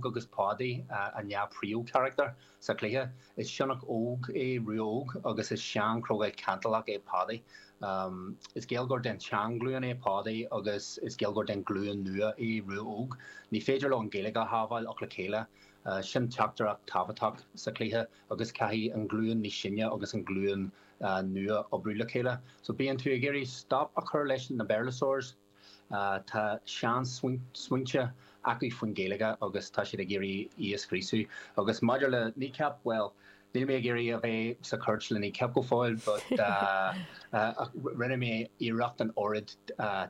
Óg agus Pádaí an dá príomhcharachtar sa chluiche. Is sionnach óg é Rua Óg agus is sean-chrogall cantalach é Pádaí. Is Gaeilgeoir den tseanghlúin é Pádaí agus is Gaeilgeoir den ghlúin nua é Rua Óg. Ní féidir leo an Ghaeilge a shábháil ach le chéile. Sin teachtaireacht tábhachtach sa chluiche agus caithfidh an ghlúin níos sine agus an ghlúin nua oibriú le chéile. So bíonn tú ag iarraidh stop a chur leis na Béarlasaurs. Tá sean-smaointe acu faoin Ghaeilge agus tá siad ag iarraidh í a scriosadh. Agus maidir le Kneecap, bhuel, níl mé ag iarraidh a bheith sa chúirt le Kneecap go fóill but rinne mé iarracht an oiread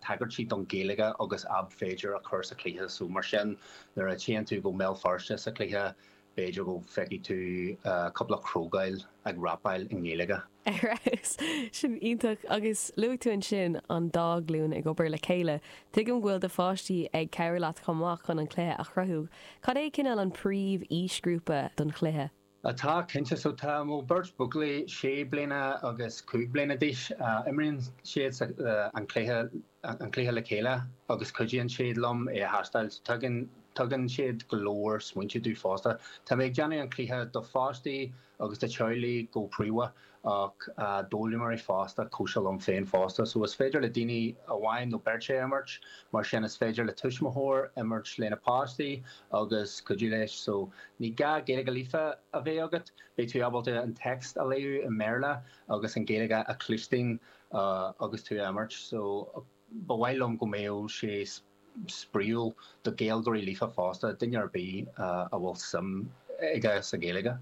tagairtí don Ghaeilge agus ab féidir a chur sa chluiche. So mar sin, nuair a théann tú go mBéal Feirste sa chluiche, B'fhéidir go bhfeicfidh tú cúpla crogall ag rapáil i nGaeilge. Ar fheabhas! Sin iontach. Agus luaigh tú ansin an dá ghlúin ag obair le chéile. Tuigim go bhfuil do pháistí ag cabhrú leat chomh maith chun an cluiche a chruthú. Cad é cineál an príomh aoisghrúpa don chluiche? Tá, cinnte. So tá mo beirt buachaillí sé bliana agus 5 bliana d'aois. Imríonn siad an cluiche an cluiche le chéile agus cuidíonn siad liom é a thástáil. Tugann tugann siad go leor smaointe domh fosta. Tá mé ag déanamh an cluiche do pháistí agus do teaghlaigh go príomha ach d'fhoghlaimeoirí fosta cosúil liom féin fosta. So is féidir le daoine amháin nó beirt é a imirt, mar sin is féidir le tuismitheoir imirt lena páistí agus cuidiú leis. So ní gá Gaeilge líofa a bheith agat, beidh tú ábalta an text a léamh i mBéarla agus an Ghaeilge a chluinstin agus tú ag imirt so ba mhaith liom go mbeadh sé spraíúil do Ghaeilgeoirí líofa fosta, duine ar bith a bhfuil suim aige sa Ghaeilge.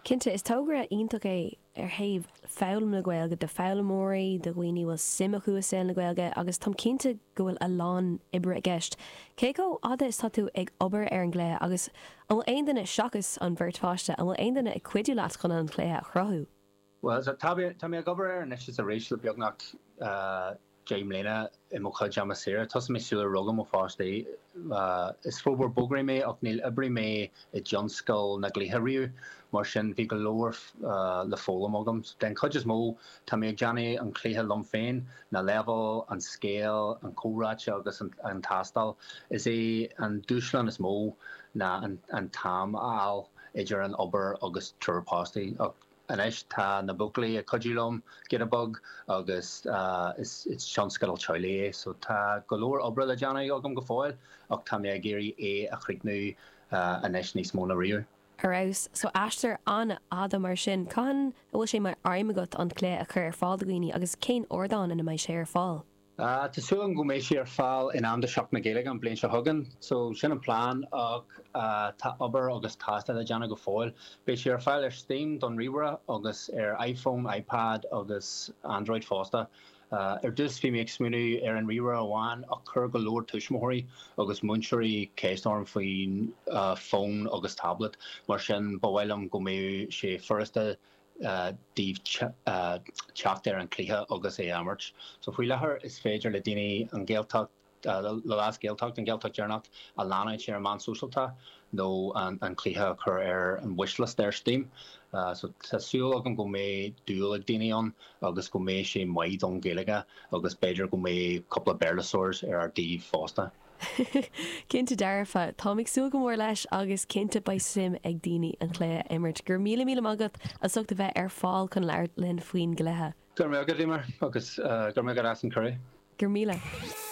Cinnte, is togra iontach é ar thaobh foghlaim na Gaeilge do foghlaimeoirí, do dhaoine a bhfuil suim acu i saol na Gaeilge agus táim cinnte go bhfuil a lán oibre i gceist. Cé chomh fhada is tá tú ag obair ar an gcluiche agus an bhfuil aon duine, seachas an bheirt pháiste, an bhfuil aon duine ag cuidiú leat chun an cluiche a chruthú? Bhuel, tá mé ag obair air anois is arís le beagnach 10 mbliana i mo chuid ama saoire. Thosaigh mé sular rugadh mo pháistí. Is forbróir bogearraí mé ach níor oibrigh mé i dtionscal na gcluichí riamh, mar sin bhí go leor le foghlaim agam. Den chuid is mó, tá mé ag déanamh an chluiche liom féin, na leibhéil, an scéal, an comhráite agus an tástáil. Is é an dúshlán is mó ná an t-am a fháil idir an obair agus triúr páistí. Anois tá na buachaillí ag cuidiú liom giota beag agus is tionscadal teaghlaigh é so tá go leor oibre le déanamh agam go fóill ach tá mé ag iarraidh é a chríochnú anois níos mó ná riamh. Ar fheabhas. So aistear an-fhada mar sin. Cathain a bhfuil sé mar aidhm agat an cluiche a chur ar fáil do dhaoine agus cén ardán ina mbeidh sé ar fáil? Tá súil agam go mbeidh sé ar fáil in am do Seachtain na Gaeilge an bliain seo chugainn. So sin an plean ach tá obair agus tástáil le déanamh go fóill. Beidh sé ar fáil ar Steam don ríomhaire agus ar iPhone, iPad agus Android fosta. Ar dtús bhí mé ag smaoineamh ar an ríomhaire amháin ach chuir go leor tuismitheoirí agus múinteoirí ceist orm faoin fón agus tablet. Mar sin ba mhaith liom go mbeadh sé furasta daoibh teacht ar an chluiche agus é a imirt. So faoi láthair is féidir le daoine an Ghaeltacht, The Last Gaeltacht, an Ghaeltacht Deireanach, a leanúint ar an meán sóisialta nó an cluiche a chur ar an wishlist ar Steam. So tá súil agam go mbeidh dúil ag daoine ann agus go mbeidh sé maith don Ghaeilge agus b'fhéidir go mbeidh cúpla Béarlasaurs ar ár dtaobh fosta. Cinnte dearfa. Táim ag súil go mór leis agus cinnte beidh suim ag daoine an cluiche a imirt. Go raibh míle míle maith agat as ucht a bheith ar fáil chun labhairt linn faoin gcluiche. Go raibh maith agat, Eimear, agus go raibh maith agat as an cuireadh. Go raibh míle.